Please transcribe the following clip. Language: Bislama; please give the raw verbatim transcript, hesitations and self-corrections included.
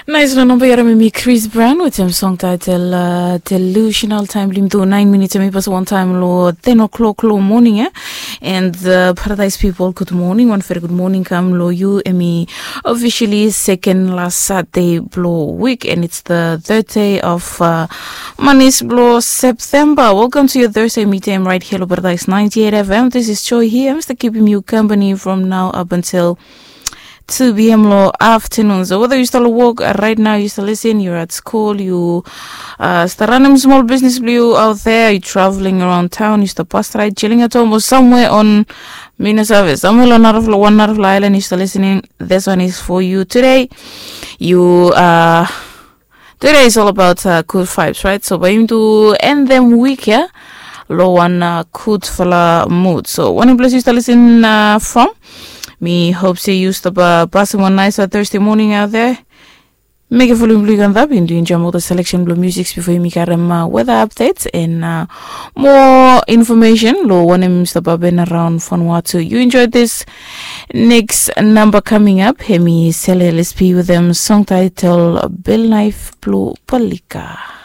Nais long namba yara mi mi Chris Brown wetem song title uh, Delusional. Taem blong yumi tu nine minutes, em i pass wantaem long ten o'clock long morning, eh? And uh, Paradise people, good morning. One very good morning kam long yu. Em i officially second last Saturday blong week, and it's the third day of uh, manis blong September. Welcome to your Thursday meeting right here long Paradise ninety-eight F M. This is Joy here. I'm still keeping you company from now up until two p.m. long afternoon. So whether yu stap long wok uh, right now, yu stap lisin, yu at school, yu uh, stap ranem smol bisnis blong yu out there, yu traveling around town, yu stap pas ride, chilling at home or somewhere on, mi no save, somewhere long narafala, wan narafala island yu stap listening, this one is for you today. Yu uh, Today is all about uh, good vibes, right? So bae yumi tu end them week ya long wan uh, gudfala mood. So wanem ples yu stap lisin uh, from, mi hope se yu stap uh, pasim wan nice uh, Thursday morning out there. Mekem volume blong yu kam up, yumi tu enjoem ol selection blong music bifo yumi karem uh, weather updates and uh, more information long wanem i stap hapen around Vanuatu. You enjoy this next number coming up. Hemi Sele L S P wetem song title Bel Knife blong Palika.